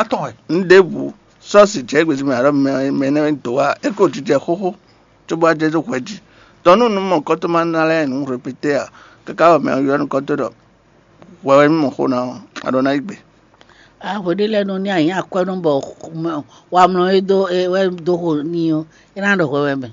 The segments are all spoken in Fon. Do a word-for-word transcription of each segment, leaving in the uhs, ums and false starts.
Atɔn wɛ. Un ɖěbǔ sɔ́ si jɛ gbèsè mɛ alɔ mɛ mɛ nɛ dǒ wá é ko jijɛ xóxó, cóbɔ ajɛ dó hwɛ jí. Tɔn nú nǔ mɔ̌kɔtɔn ma ná lɛ́ɛ nǔ répété ǎ, káká wɛ mɛ ɔ́ ylɔ́ nukɔntɔn ɖɔ: "Hwɛ wɛ mí mɔ xó ná ɔ́, a ɖɔ ná yí gbe." Ahwe ɖé lɛ́ɛ nɔ ní anyǐ akwɛ́nɔ bɔ wamlɔ e dó e wɛ dó xo n'i ɔ́, é ná ɖɔ hwɛ wɛ mɛ,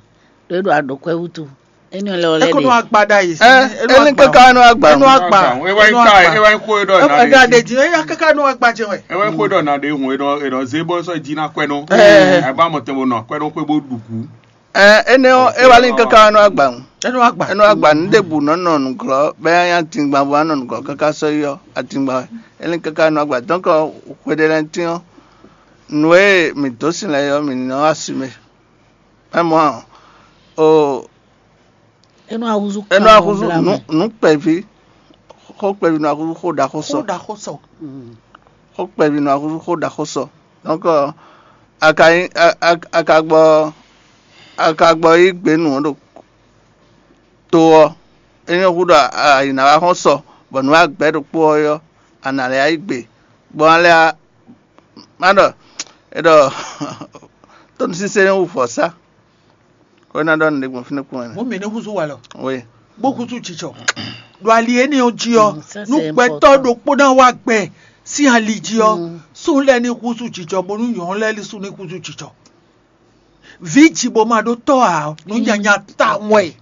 ɖó é ɖo aɖǒkwɛ́ wútu. Énɛ́ lɛ́ɛ ɔ lɛ́ɛ Eko nɔ ɖe. Agba ɖ'ayǐ. Ɛ, Énɛ́ énɛ́ agba. Kaka nɔ agba. Énɛ́ agba. É wá nyí Énɛ́ ká agba. É wá nyí xó e ɖɔ ná Ɛgbɛ ɖe. Adi jí, éya kaka nɔ agba jɛ wɛ. É wá nyí xó e ɖɔ ná ɖe hun e ɖɔ e ɖɔ zé bɔ sɔ́ jí ná kwɛ nɔ. Ɛ. Agba mɔtɛn bo nɔ kwɛ nɔ xwé bó ɖu kú. Ɛ, énɛ́ ɔ́, é wá lí kaka nɔ agba ŋu. Énɛ́ agba. Énɛ́ agba nu ɖěbǔ nɔ nɔ nǔglɔ́, bɛ nya tingban bó nɔ nǔglɔ́ kaka sɔ́ yi ɔ́, atingban wɛ. Énɛ́ kaka nɔ agba. Donc, xwe ɖé lɛ́ɛ tín ɔ́, nǔ e mǐ dó sin lɛ́ɛ ɔ́, mǐ ní nɔ wá asi mɛ. Ɛ mɔ ɔ́, o É nɔ ahúzú é nɔ ahúzú nǔ nǔ kpɛví, xó kpɛví nɔ ahúzú xó ɖaxó sɔ. Xó ɖaxó sɔ. Xó kpɛví nɔ ahúzú xó ɖaxó sɔ. Donc, a ka nyí a- a- a ka gbɔ a ka gbɔ yí gbe nǔ ɔ́ ɖo to ɔ́, é nyɔ́ húɖɔ a- ayǐ ná wá xɔ́n sɔ, bɔ nǔ agbɛ̌ ɖokpó ɔ́ ɔ́, a nǎ lɛ́ yí gbe, bɔ a lɛ́ má ɖɔ è ɖɔ tónúsínsɛ́n wú vɔ̌sá. Xó ná ɖɔ nǔɖé gbɔn fínɛ́ kpɔ́n wɛ. Mɔ̌ mǐ ní húzú walɔ, Oui. Bó húzú jijɔ. Ɖo ali énɛ́ ɔ́ jí ɔ́, Mm, ça, nú c'est gbɛtɔ́ important. Ɖokpó ná wá gbɛ sín ali jí ɔ́, Mm. Súnnu lɛ́ɛ ní húzú jijɔ, bónú nyɔ̌nu lɛ́ɛ ní sú ní húzú jijɔ. Vǐ ji bó ma ɖó tɔ́ ǎ, nǔ nyanya tawun wɛ.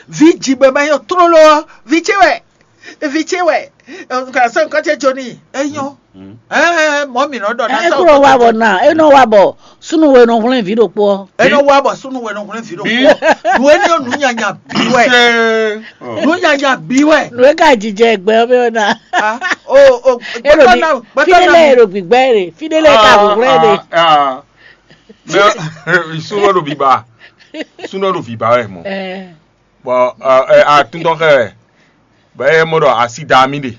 Vǐ ji bó ma nyɔ tlóló ɔ́, vǐ ce wɛ, vǐ ce wɛ. Nka sɔ́ nukɔn ce jó n'i, é nyɔ́. Ɛɛ, mɔ̌ mǐ nɔ ɖɔ ná É sɔ́ kúrò wá bɔ ná, é nɔ wá bɔ súnnu we nɔ hwlɛ́n vǐ ɖokpó ɔ́. É nɔ wá bɔ súnnu we nɔ hwlɛ́n vǐ ɖokpó. Nǔ énɛ́ ɔ́, nǔ nyanya bǐ wɛ. Nǔ nyanya bǐ wɛ. Nǔ e ka jijɛ gbɛ ɔ́ mɛ ɔ́ ná. Ah, o o É ɖo gbɛtɔ́ bi- ná gbɛtɔ́ Fíɖé ná lɛ́ɛ e ɖo gbǐgbá ɛ ɖe, fíɖé lɛ́ɛ e ka hwǐhwlɛ́ ɖe. Mɛ súnɔ ɖo bǐbá, súnɔ ɖo bǐbá wɛ mɔ. Ɛ, Bɔn atúntɔn xɛ wɛ, bɔ é mɔ ɖɔ asi da mì ɖe,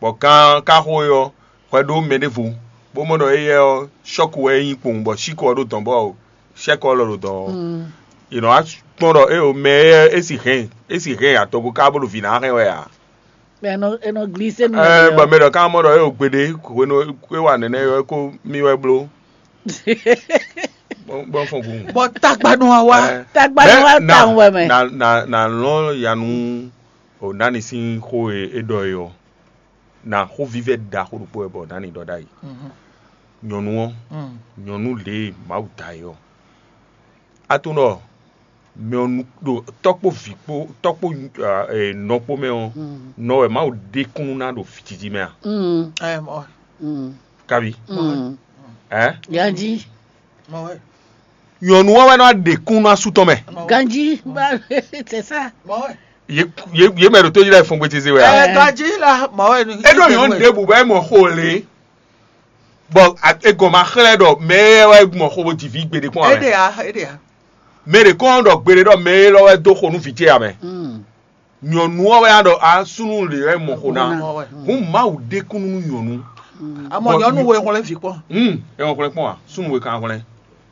bɔ gán káxó e ɔ́ hwɛ ɖó mɛ ɖěvo, bó mɔ ɖɔ éyɛ́ ɔ́, sɔ́ku wɛ é nyí kpowun, bɔ síkɔ ɔ́ ɖo dɔ̌n bɔ sɛ́kɔ ɔ́ lɔ ɖo dɔ̌n ɔ́, mm. È nɔ wá kpɔ́n ɖɔ é o mɛ éyɛ́ é si hɛn é si hɛn atɔgo ká bó ɖo vǐ ná hɛn wɛ ǎ. Bɔ é nɔ é nɔ glísé nú Ɛ, bɔ mɛ ɖɔ ká mɔ ɖɔ é o gbeɖé hwenu é wa nɛnɛ ɔ́, é ko mì wɛ bló. Gbɔn gbɔn fɔn gun. Bɔ tagba nɔ wa wá. Ɛ, Tagba nɔ wá na- tawun wɛ mɛ. Na na na lɔn yanu o nani sín xó e é ɖɔ é ɔ́, na xó vívɛ́ ɖaxó ɖokpó wɛ bɔ nani ɖɔ ɖ'ayǐ. Mhm. Nyɔ̌nu ɔ́, Mm. Nyɔ̌nu lě e Mawu da é ɔ́, a tunwun ɖɔ mɛ ɔ́ nu ɖo tɔ́ kpó vǐ kpó tɔ́ kpó, ah, eh, nɔ kpó mɛ ɔ́, Mm. Nɔ wɛ Mawu ɖe kúnnu ná ɖo jiji mɛ a? Mm. Ɛ mɔ Mm. Kabi? Mm. Ɛ? Ganji. Mɔ wɛ. Nyɔ̌nu ɔ́ wɛ nɔ ɖe kúnnu asú tɔn mɛ. Ganji. Bah, c'est ça. Mɔ wɛ. Ye ye ye mɛ ɖo tó yi lɛ fɔn gbeteze wɛ a? Ɛ ganji la mɔ wɛ ni. E ɖo nyɔ̌nu ɖe bu bɛ mɔ xo le. Bɔ a- e gɔn ma xlɛ́ ɖɔ mɛ e wɛ mɔ xo bo ji vǐ gbeɖé kpɔn Ede amɛ. A, ede a. Mɛ ɖě kɔn ɖɔ gbeɖé ɖɔ mɛ e lɔ wɛ dó xo nú vǐ ce amɛ. Mm. Nyɔ̌nu ɔ́ wɛ a ɖɔ a súnnu lě wɛ mɔ xo ná. Mɔ wɛ. Hún Mawu ɖe kúnnu nú nyɔ̌nu. Amɔ Bɔ nyɔnu nyɔ- wo ehɔn lɛ fi kpɔn. Hmm, e ŋɔ xlɛ kpɔn a? Súnnu we kan xlɛ.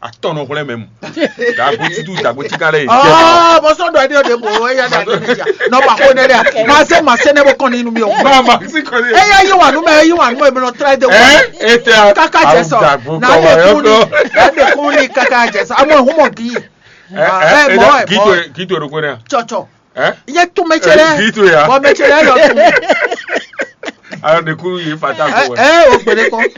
Atɔ nɔ xlɛ mɛ mu. Dagbo titu dagbo tika lɛ yi. Ɔɔ, bɔ sɔdɔ ɛdi ɔdi bo eya da ɛdi ne ja. Nɔ ba ko ne dɛ. Ma se ma se ne bo kɔn ni nu mi o. Ma ma si kɔn ni. Eya yi wa nu mɛ yi wa nu mɛ bɛ nɔ tra de wa. Ɛ e tɛ a. Kaka jɛ sɔ. Dagbo Na kɔ de wa kun ni yɔ na de kun ni kaka jɛ sɔ. Amɔ ehun mɔ gi. Ɛ Ah, ɛ ɛ mɔ da ɛ gito mɔ. Gito ero ko ne a. Tsɔtsɔ. Ɛ? Ye tún mɛ cɛ lɛ. Gito ya. Bɔ mɛ cɛ lɛ yɔ tún. Ayɔ de kuru yi fata ko wɛ. Ɛ o gbede kɔ.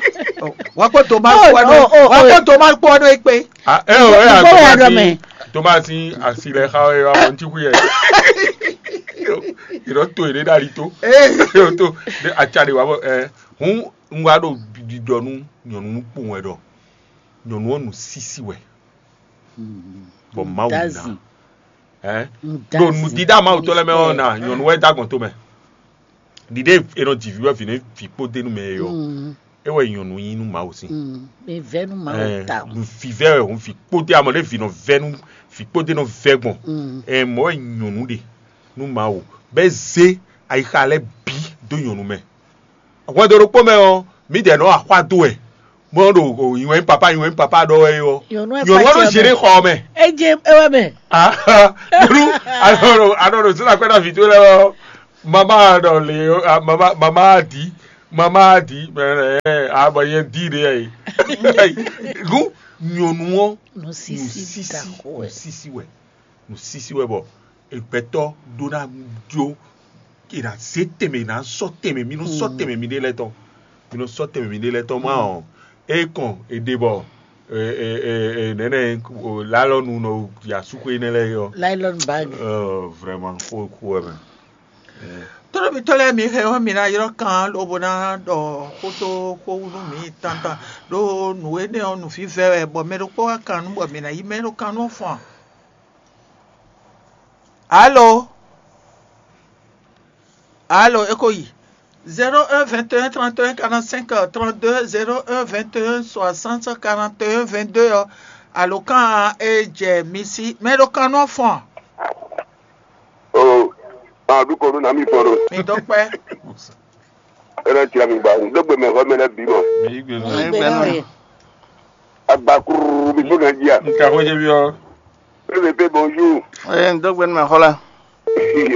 Wa ko to ma Oh, kpɔ no. Oh, oh, Wa ko oh. To ma kpɔ no ekpe. Ah, ɛ o ɛ Bó wà a dɔn mɛ. Tomasi asi lɛ xa ɛ wa mɔ ntí kuyɛ. Ìrɔ tó èrè dali tó. Ee. Yóò tó de atsa de wa bɔ ɛ hun ń wá ɖo didɔ nú nyɔnu kpowun wɛ ɖɔ nyɔnu ɔ́ nu sísí wɛ bɔ Mawu ná. Dazi. Ɛ ɖo nudida Mawu tɔ lɛ mɛ ɔ́ na nyɔnu wɛ da gbɔn to mɛ ɖiɖe e nɔ dzi vǐ wɛ vǐ ne vǐ kpó dé nu mɛ e ɔ́, e wɛ nyɔnu nyi nú Mawu sín. Ɛ vɛ nú Mawu ta o. Vǐ vɛ wɛ hun vǐ kpó dé amɔ ɖe vǐ nɔ vɛ nú vǐ kpó dé nɔ vɛ gbɔn. Ɛ mɔ wɛ nyɔnu ɖe nú Mawu bɛ zé ayixa lɛ bǐ dó nyɔnu mɛ. Hwɛndo ɖokpó mɛ ɔ́, mǐdɛɛ nɔ axwá dó wɛ, bó nɔ ɖo nyi wɛ nyí papa nyi wɛ nyí papa ɖɔ wɛ é ɔ́. Nyɔnu wɛ Nyɔnu wɛ nɔ kpatya zé mɛ. Ɖe xɔ ɔ́ mɛ. Eje ewe mɛ. Ah, nyɔnu anɔ ɖo anɔ ɖo zéla kpɛ na vǐ towe lɛ ɔ́, mama ɖɔ le ɔ́, ah, mama mama di Mama di, ɛ, ɛ, abɔ yɛn di ɖe yɛ. Gu nyɔnu ɔ, Nusisi nusisi, ɖaxó wɛ. Nusisi wɛ. Nusisi wɛ bɔ egbɛtɔ ɖó ná jó, e ná zé tɛnmɛ, e ná sɔ́ tɛnmɛ, mi nɔ sɔ́ tɛnmɛ mi ɖe lɛ́ɛ tɔn. Mi nɔ sɔ́ tɛnmɛ mi ɖe lɛ́ɛ tɔn ma ɔ. E kɔn e ɖe bɔ, e, e, e, e, nɛnɛ, o, lalɔnu nɔ ya suxu énɛ́ lɛ́ɛ yɔ. Nylon bag. Euh, vraiment, xó xó wɛ mɛ. Tlóló mitɔ́ lɛ́ɛ mi hɛn ɔ́, mi ná ylɔ́ kan lobo ná ɖɔ xó dó xó wú nú mǐ tantan, ɖó nǔ énɛ́ ɔ́, nǔvívɛ́ wɛ, bɔ mɛ ɖokpó wá kan nú bɔ mǐ ná yí mɛ ɖó kan nú fɔn. Alo? Alo, é ko yi. Zéro un vingt et un trente et un quarante-cinq trente-deux, zéro un vingt et un soixante quarante et un vingt-deux ɔ́, alo kan e jɛ mi sí. Mɛ ɖó kan nú fɔn. O, a ɖu kɔ nú nami fɔn ɖo. Mi dó kpɛ́. Ena tira mi gba, n dó gbe mɛ xɔ mɛ lɛ bi mɔ. Mi yí gbe nɔ. Agbakuru mi fún kan jí a. N ka xwé jɛ bi ɔ. Pépé bonjour. Ee, n dó gbe nú mɛ xɔ la.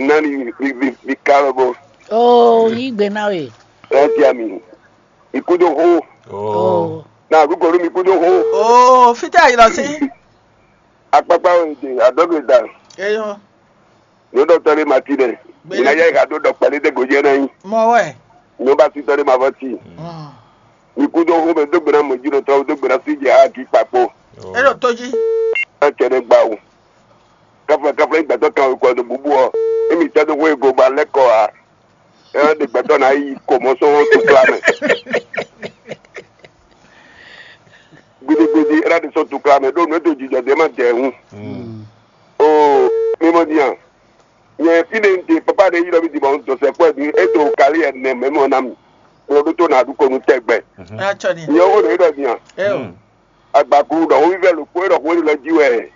Nani mi mi mi ka lɔ bɔ. Oh, yí gbe ná we. Ena tira mi. Mi kú dó xó. Oh. Na ɖu kɔ nú mi kú dó xó. Oh, fítɛ ayilɔ sí. Akpakpa wo de adɔgbe da. Eyɔ. Nyɔɖɔtɔ ɖé ma ti ɖɛ. Mina yɛ ka ɖo ɖɔ kpɛlɛ ɖe gojɛ na nyi. Mɔ wɛ. Nyɔba sitɔ ɖé ma vɔ ti. Mi kú dó xó mɛ dó gbe ná mɔ jí ɖo tɔ dó gbe ná sí jɛ aki kpakpo. E ɖo tó jí. Ɛ cɛ ɖe gba o. Kafla kafla yi gbɛtɔ kan kɔ do bubu ɔ. Emi tɛ do xó ego ba lɛ kɔ a. Ɛ ɖe gbɛtɔ na yi ko mɔ sɔn tukla mɛ. Gbidigbidi ɛ ɖe sɔn tukla mɛ ɖo nǔ e do jijɔ ɖe ma dɛ hun. Oo, mi mɔ din a? Nyɛ fínɛ́ un ɖe papa ɖe yi ɖɔ mì din bɔ un dɔ sɛkpɔ́ din e do kali ɛnɛ mɛ mɔ ná mi. Kplɔ ɖó tó nǎ ɖu kɔnu tɛgbɛ. Atsɔ ni. Nyɛ wo ɖe ɖɔ din a? Eo. Agbaku ɖɔ wo vívɛ ɖokpó e ɖɔ xó ɖe lɔ jí wɛ.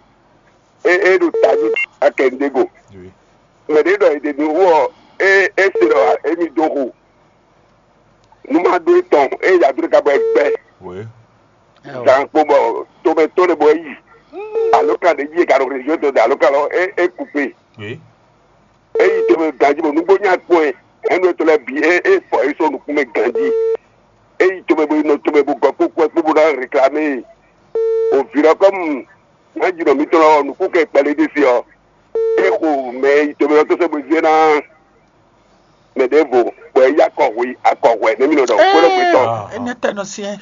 E e ɖo tají akɛndego. Mɛ ɖě ɖɔ è ɖe nǔ wú ɔ, é é se ɖɔ émí dó xo. Nú má ɖó etɔn, é yi adó ɖé ká bɔ é gbɛ́. Zan kpo bɔ tomɛ tɔn ɖé bɔ é yi. Alo kan ɖé jí é ka ɖo région tɔn ɖe alo kan lɔ é é kú kpé. É yi tomɛ ganjí bɔ nǔgbó nya kpɔn ɛ. Ɛnu etɔn lɛ bǐ é é fɔ é sɔ́ nukún mɛ ganjí. É yi tomɛ bɔ é nɔ tomɛ bɔ gɔkpó kú ɛ kpó bó ná réclamer. Òvǐ lɔ kɔmu ná jǐnɔ mǐtɔn lɔ nukún kɛ kpɛlɛ ɖé sí ɔ. É xo mɛ yi tomɛ lɔ tó sɛ́ bó zé ná mɛ ɖěvo bɔ é yí akɔ hwe akɔ hwɛ nɛ́ mì nɔ ɖɔ xwé lɔ gbetɔ. Enɛ tɛ nɔ siɛ.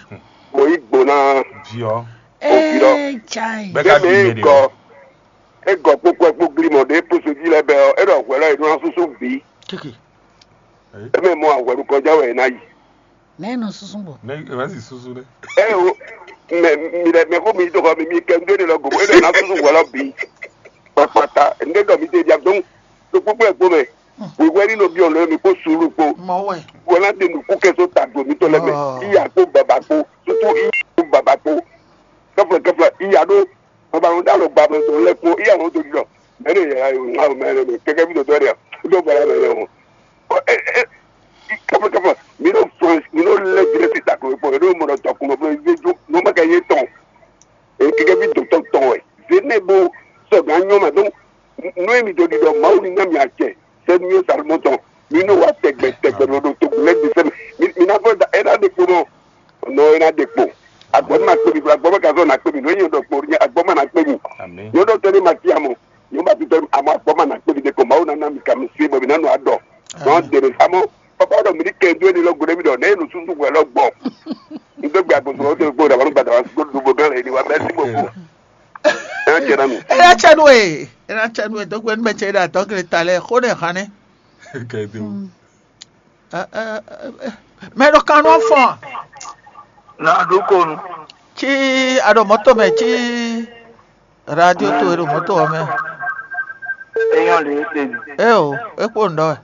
Bó yí gbo ná Viɔ. Òbí lɔ. Ee, chai. Bɛ ka Bébè bi é mɛ de gɔ o. É gɔ kpókpó ɛ kpó glimɔ ɖé posojí lɛ bɛ ɔ é ɖɔ hwɛ lɔ é nɔ súsú bǐ. Keke. É mɛ mɔ ahwɛ̌ nukɔnjá wɛ é ná yi. Nɛ nɔ susu bɔ. Ne e ma si susu ɖe. Ɛ o, mɛ mi lɛ mɛ ko mi to xɔ mi mi kɛ ndé ne lɔ gobo ene na susu wɔ lɔ bi. Kpakpata ndé dɔ mi te dia dɔn. To kpukpu ɛ kpó mɛ. Wíwɛ ni nɔ biɔ lɔ mi kó sulu kpó. Mɔ wɛ. Wɔ na de nuku kɛ so ta do mi tɔ lɛ mɛ. Iya kpó baba kpó. Tutu iya kpó baba kpó. Kɛfɛ kɛfɛ iya ɖó. Baba ŋu dá lɔ gba mɛ tó lɛ kpó iya ŋu tó di dɔ. Mɛ ne yɛ ayo ŋa mɛ ne kɛkɛ bi dɔ dɔ dɛ. Dɔ bala mɛ yɛ ŋu. Ɔ ɛ ɛ. Kɛfɛ kɛfɛ mi ɖo France mi ɖo lɛ direct ta ko kpɔ mi ɖo mɔ ɖɔ tɔ kun bɔ mi ɖo jo no ma kɛ ye tɔn. E kɛkɛ bi dɔ tɔn tɔn wɛ. Zene bo sɔ gan nyɔ ma donc. Nú èmi dó ɖiɖɔ Mawu ní ná mi acɛ sɛ́ nú yóò sa mɔ tɔn. Mi nɔ wá tɛgbɛ tɛgbɛ lɔ ɖo togun lɛ́ɛ gbe sɛ́ mɛ. Mi mi ná fɔ da é ná ɖe kpo nɔ. Nɔ é ná ɖe kpo. Agbɔ̌ ma kpe mi, agbɔ̌ ma ka zɔ ná kpe mi, nɔ é nyɛ ɖɔ kpo, agbɔ̌ ma ná kpe mi. Nyɔ ɖɔ tɛ́ ní ma cí amɔ. Nyɔ ba titɔ amɔ agbɔ̌ ma ná kpe mi ɖe ko Mawu ná ná mi ka mi sí bɔ mi ná nɔ adɔ. Nɔ dè mi amɔ. Papa ɖɔ mi ní kɛ dó ní lɔ gbe mi ɖɔ nɛ é nɔ súsú hwɛ lɔ gbɔ. N dó gbe agbóso ɔ́ tó gbó ɖàbọ̀ nígbà tàbá gbó dùbò gán lè ní wa mẹ́sì gbogbo. Ẹ jẹ́ náà mi. Ena tsɛ nu e, ena tsɛ nu e dɔgbe nu mɛ tsɛ yi ɖe adɔgre ta lɛ xo ne hàn ne. Kɛdo. Mɛ ɖo kan nɔ fɔn. Na ɖo konu. Tsi aɖo mɔto mɛ tsi radio to e ɖo mɔto wɔ mɛ. Eyɔn le ete mi. E o, e kpo ŋdɔ wɛ.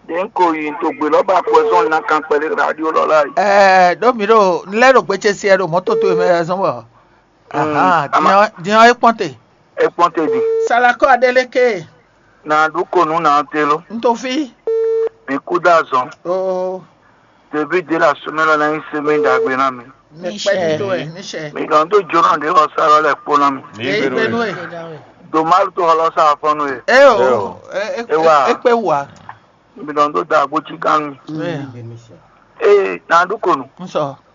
Ɖe n ko yi to gbe lɔ ba kɔ zɔn na kan kpɛlɛ radio lɔ la yi. Ɛɛ ɖo mi ɖo n lɛ ɖo gbetsɛ si ɛ ɖo mɔto to e mɛ zɔn wɔ. Ahan, ama- diɔ diɔ e kpɔn te. E kpɔn te di. Salakɔ aɖe leke. Na ɖu ko nu na te lo. N to fi. Mi ku da zɔn. Oo. Tebi de la sumɛ lɔ na yi se mi dagbe na mi. Ne kpɛ mi to ɛ, mi sɛ. Mi dɔn do jona de lɔ sa lɔ lɛ kpo na mi. Eyi gbenu e. Do malu to lɔ sa afɔnu e. E o. E wa. E kpe wa. Mi dɔn do da agbo tsi kan mi. Ee, na ɖu ko nu. Un sɔ.